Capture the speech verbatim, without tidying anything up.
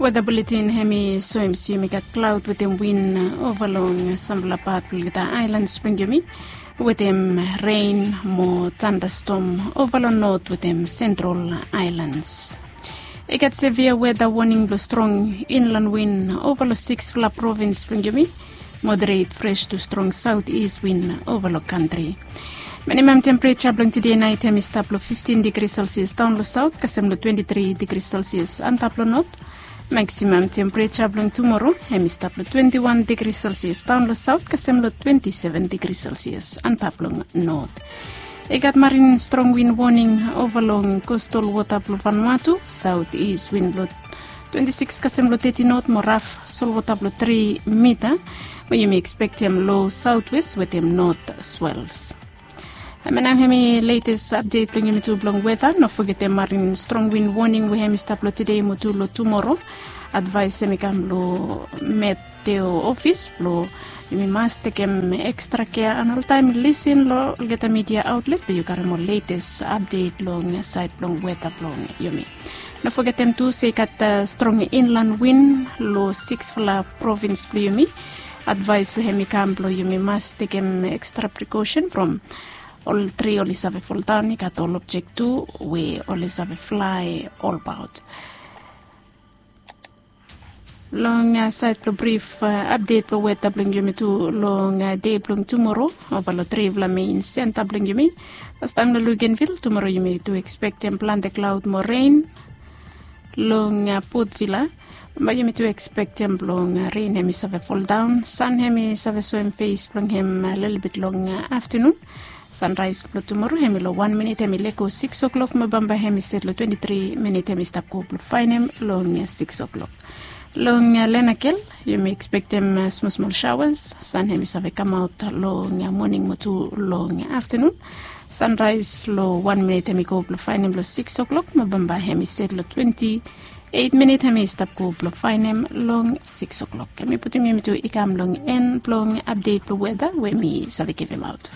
Weta buletin hem i soem se yumi gat klaod wetem win ova long sampela pat bilong olgeta aelans bilong yumi, wetem ren mo tandastom ova long not wetem sentral aelans. I gat sevia weta woning bilong strong inlan win ova long sikspela provins bilong yumi, moderet fres tu strong saut is win ova long kantri. Minimam tempereja bilong tide nait hem i stap long fiftin digri selsias daun long saut kasem long twenti tri digri selsias antap long not. Maksimam tempereja bilong tumora hem i stap long twenti wan digri selsias daun long saut kasem long twenti seven digri selsias antap long not. I gat marin strong win woning ova long kostal wota bilong Vanuatu, saut is win bilong twenti sikis kasem long teti not mo raf solwota bilong tri mita, we yumi ekspektem lo sautwes wetem not swels. Em nau hem i letes apdet bilong yumi tu bilong weta. No fogetem marin strong win woning we hem i stap long tide mo tu long tumora. Advais hem i kam long meteo ofis bilong yumi mas tekem ekstra kea an oltaim lisin long olgeta midia autlet bilong yu karim ol letes apdet long sait bilong weta bilong yumi. No fogetem tu se i gat strong inlan win long sikspela provins bilong yumi. Advais we hem i kam bilong yumi mas tekem ekstra prikosen from ol tri oli save foldaun i gat ol objek tu we oli save flai olbaut. Long sait bilong brif apdet bilong weta bilong yumi tu long de bilong tumora, ova long tripela mein senta bilong yumi. Pastaim long Lugenvil tumora yumi tu ekspektem plante klaud mo ren. Long Potvila bai yumi tu ekspektem bilong ren hem i save foldaun, san hem i save soem fes bilong hem lelebet long aftanun. Sanrais bilong tumora hem i long wan minit hem i lego sikis oklok mo bambae hem i set long twenti tri minit hem i stap go bilong fainem long sikis oklok. Long Lenakel yumi ekspektem smosmol shawas, san hem i save kamaut long moning mo tu long aftanun. Sanrais long wan minit hem i go bilong fainem long sikis oklok mo bambae hem i set long twenti eit minit hem i stap go bilong fainem long sikis oklok. Hem i putim yumi tu i kam long en bilong apdet bilong weta we mi save givimaut.